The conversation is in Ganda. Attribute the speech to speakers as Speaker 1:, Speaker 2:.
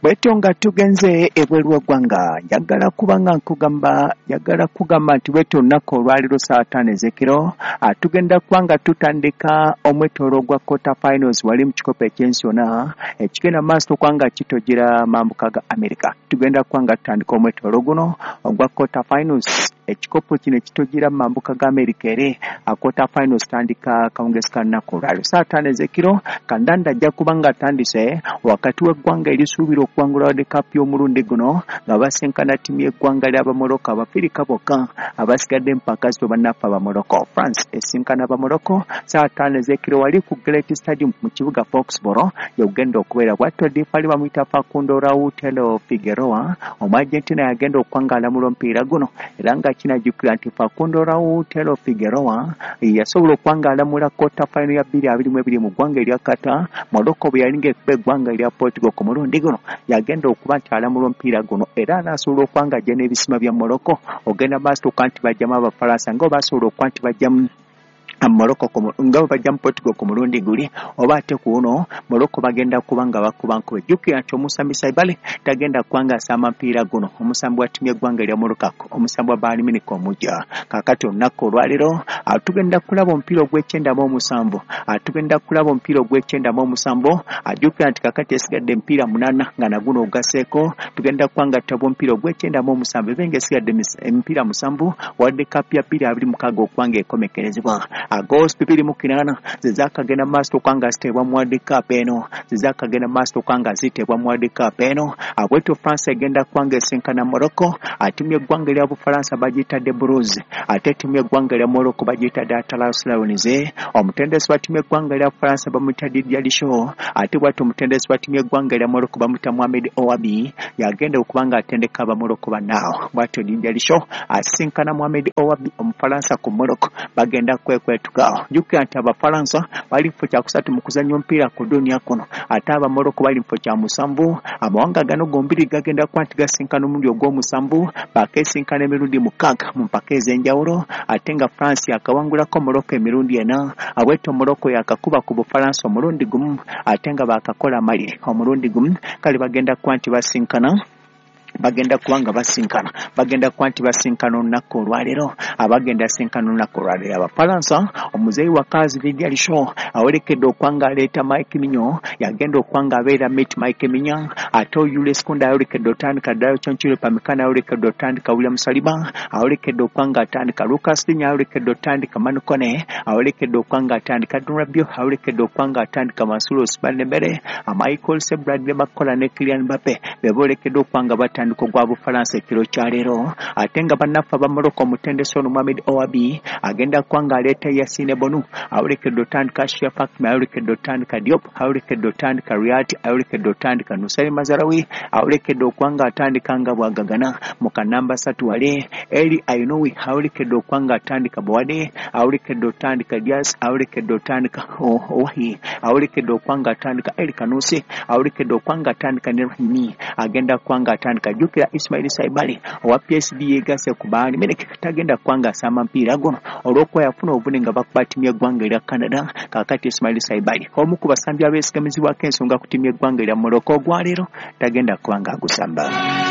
Speaker 1: Bwetyo nga tugenze ebweru w'eggwanga, njagala kuba nga nkugamba, njagala kugamba nti bwetyo olunaku olwaleero ssaawa 5 ez'ekiro tugenda kuba nga tutandika omwetoolo gwa quarter finals wali mu kikopo eky'ensi yonna ekigenda mu maaso okuba nga kitojera mambuka ga America. Tugenda kuba nga tutandika omwetoolo guno ogwa quarter finals. Ekikopo kino ekitojera mu mambuka ga America ere quarter finals tandika kawungezi ka lunaku olwaleero ssaawa 5 ez'ekiro. Kandanda ajja kuba nga atandise wakati w'eggwanga erisuubira okuwangula World Cup y'omulundi guno nga basinkana ttiimu y'eggwanga ly'Abamorocco, Abafirika bokka abasigadde empaka zito bannaffe Abamorocco. France esinkana Abamorocco ssaawa 5 ez'ekiro wali ku Great Stadium mu kibuga Foxborough yogenda okubeera. Bwatyo ddiifali bamuyita Facundo Rautelo Figueroa, Omuargentina, yagenda okuba nga alamula omupiira guno, era nga kinajjukira nti Facundo Rautelo Figueroa yasobola okuba nga alamula quarter final ya 2022 mu ggwanga erya Qatar, Morocco bwe yali ng'ekuba eggwanga erya Portugal. Ku mulundi guno yagenda okuba nti alamula omupiira guno, era anaasobola okuba nga ajja n'ebisima bya Morocco ogenda maaso okuba nti bajjamu Abafalansa nga basobola okuba nti bajjamu Morocco nga bwe bajja mu Portugal ku mulundi guli, oba ate ku uno Morocco bagenda kuba nga bakuba nkube. Jjukira nti omusambi Saibali tagenda kuba nga asamba mpiira guno, omusambi wa ttiimu y'eggwanga erya Morocco, omusambi wa Bayern Munich omujja. Kaakati olunaku olwaleero tugenda kulaba omupiira ogw'ekyenda mu 7, tugenda kulaba omupiira ogw'ekyenda mu 7. Ajjukira nti kaakati esigadde emipiira 8 nga naguno ogaseeko, tugenda kuba nga tutaba omupiira ogw'ekyenda mu 7, ebe nga esigadde emipiira 7 World Cup ya 2026 okuba nga ekomekerezebwa. Goals 208 zezakagenda maaso okuba nga ziteebwa mu World Cup eno, zezakagenda maaso okuba nga ziteebwa mu World Cup eno. Bwetyo France egenda kuba nga esinkana Morocco. Ttiimu y'eggwanga erya Bufalansa bagiyita The Blues, ate ttiimu y'eggwanga erya Morocco bagiyita The Atlas Lions. Omutendesi wa ttiimu y'eggwanga erya Bufalansa bamuyita Didier Deschamps, ate bwatyo omutendesi wa ttiimu y'eggwanga erya Morocco bamuyita Mohamed Ouahbi, yagenda okuba nga atendeka Abamorocco bannaawo. Bwatyo Didier Deschamps asinkana Mohamed Ouahbi Omufalansa ku Morocco, bagenda kwekwetuka. Jjukira nti Abafalansa bali kifo kyakusatu mu kuzannya omupiira ku duniya kuno, ate Abamorocco bali kifo kya musanvu. Amawanga gano gombiri gagenda kuba nti gasinkana omulundi ogw'omusanvu, bakeesinkana emirundi 6 mu mpaka ez'enjawulo, ate nga France yakawangulako Morocco emirundi 4. Abwetyo Morocco yakakuba ku Bufalansa omulundi gumu, ate nga bakakola amaliri omulundi gumu. Kale bagenda kuba nti basinkana, bagenda kuba nga basinkana, bagenda kuba nti basinkana olunaku olwaleero, abagenda sinkana olunaku olwaleero. Abafalansa, omuzeeyi wakazi Didier Deschamps awerekedde okuba nga aleeta Mike Maignan, yagenda okuba nga abeera mate Mike Maignan, ate Jules Kounde ayolekedde otandika, Dayot Upamecano ayolekedde otandika, William Saliba ayolekedde okuba nga atandika, Lucas Digne ayolekedde otandika, Manu Kone ayolekedde okuba nga atandika, Rabiot ayolekedde okuba nga atandika, Mansour Ousmane Dembele, Michael Olise, Bradley Barcola ne Kylian Mbappe be bolekedde okuba nga batandika ogwa Bufalansa ekiro kyaleero. Ate nga bannaffe Abamorocco, omutendesi ono Mohamed Ouahbi agenda kuba nga aleeta Yassine Bounou ayolekedde otandika, Achraf Hakimi ayolekedde otandika, Diop ayolekedde otandika, Riyad ayolekedde otandika, Noussair Mazraoui ayolekedde okuba nga atandika nga bwagagana mu kanamba 3 wale, El Aynaoui ayolekedde okuba nga atandika, Bouaddi ayolekedde otandika, Diaz ayolekedde otandika, Ouahi ayolekedde okuba nga atandika, El Khannouss ayolekedde okuba nga atandika ne Rahimi agenda kuba nga atandika. Jjukira Ismail Saibali owa PSG yegasse ku Bayern Munich tagenda kuba nga asamba mpiira guno olw'okuba yafuna obuvune nga bakuba ttiimu y'eggwanga erya Canada. Kaakati Ismail Saibali, omu ku basambi abeesigamizibwako ensonga ku ttiimu y'eggwanga erya Morocco, ogwaleero tagenda kuba nga agusamba.